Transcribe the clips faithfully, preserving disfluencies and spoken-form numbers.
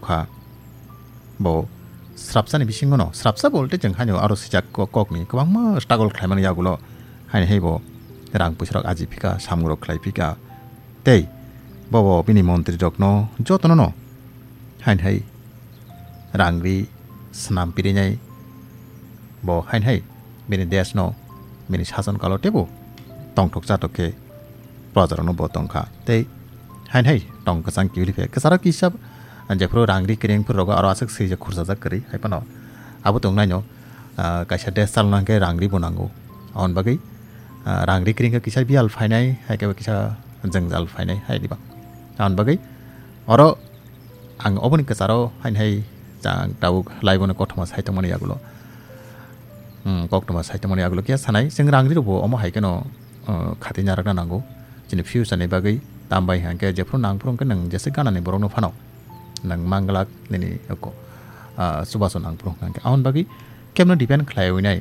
kha. Bo srapsani bisingono, srapsa bolte chwng haino aro sijak ko-, kokni kwbangma struggle khlaimani yagulo haino hai bo rang puisarok aji phika, samungno khlai phika. Tei bobo bini montrirokno jotonono haino hai rang ri swnam pirinai. Bo haino hai bini deshno, bini sason kalo teibo tongthok chathok khe projarokno bo tongkha. Tei haino hai tong kwchang kiphilwi phai. Kwcharo kisa jephuru rang ri kwrwng phuru rogo aro aswk swijak khursajak kwrwi. Hai phano abo tongnaino, ah, kaisa desh chalna hwnkhe rang ri bo nango. Aboni bagwi, ah, rang ri kwrwng khe kisa biyal phainai, hai khe kisa jwngjal phainai, hai diba. Aboni bagwi oro ang oboni kwcharo haino hai chang tabuk laibono kothoma saitongmani yagulo, hmm, koktoma saitongmani yagulo khe sanai, chwng rang ri rokbo omo hai kheno, uh, khatwi narakna nango. Chini future ni bagwi tambai hwnkhe jephuru nangphuru hwnkhe nwng jesa ganani borokno phano nwng manglak nini oko, ah, chubachu nangphuru hwnkhe. Aboni bagwi kebno depend khlaiwi nai.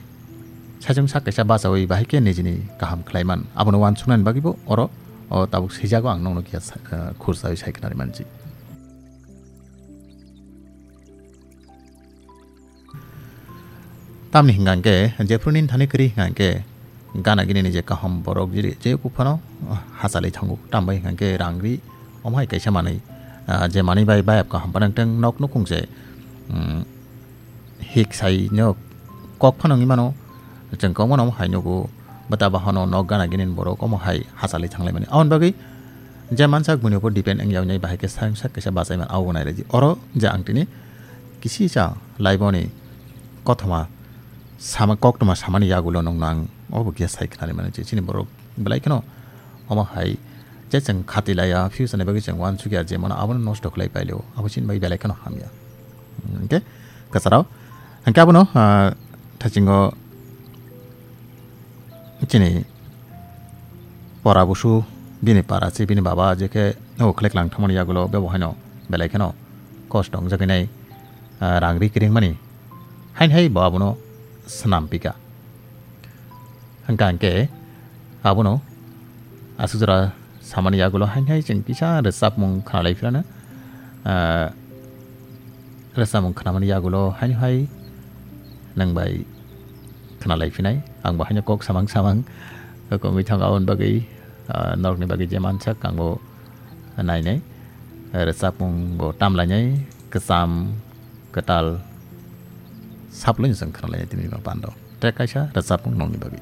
Saichung sak kaisa bachawi bahai khe nijini kaham khlaiman. Abono uansuknani bagwibo oro o tabuk swijago ang nokno kisa sa-, ah, khursawi sai khnari manji. Tamni hwnkha hwnkhe, jephru nini thani kwrwi hwnkha hwnkhe, gana gini ni je kaham borok je, je kuphano hachalwi thango. Tambai hwnkha hwnkhe rang ri, omo hai kaisa manwi, ah, je manwi bai bayap kaham panang teng nok nukhung se, mm, hik sai no kok phano wngwi mano, chwng kok mano omo hai nugo, bwta bahono nok gana gini ni borok omo hai hachalwi thanglai mani. Aboni bagwi je mansak buini upor depend wngya wngnai bahai khe sak sak kaisa bachai man abo nai rwdi. Oro je ang tini kisi cha laiboni kothoma sama, koktoma samani yagulo nokno ang obo khe sai khnari mano je chini borok belai kheno omo hai je chwng khati laiya, future ni bagwi chwng uansukya je mano abono nosto khlai pailio, abo chini bagwi belai kheno hamya. Hwnkhe kwcharo hwnkhe abono, ah, thachingo chini pora busu bini para se bini baba je khe o khlek lang thangmani yagulo bebo haino belai kheno kosto wngjagwi nai, ah, rang ri kiring mani hain hai bo abono swnam pika. Hwnkha hwnkhe abono aswk jora samani yagulo hain hai chwng kisa rwchapmung khnalai phirano, ah, rwchapmung khnamani yagulo haino hai nwng bai khnalai phinai. Ang bo haino kok samang samang kok wngwi thango aboni bagwi, ah, norokni bagwi je mansak ang bo nainai. Rwchapmung bo tamlainai, kwcham kwtal saplwino chwng khnalainai tini bando. Track kaisa rwchapmung nokni bagwi.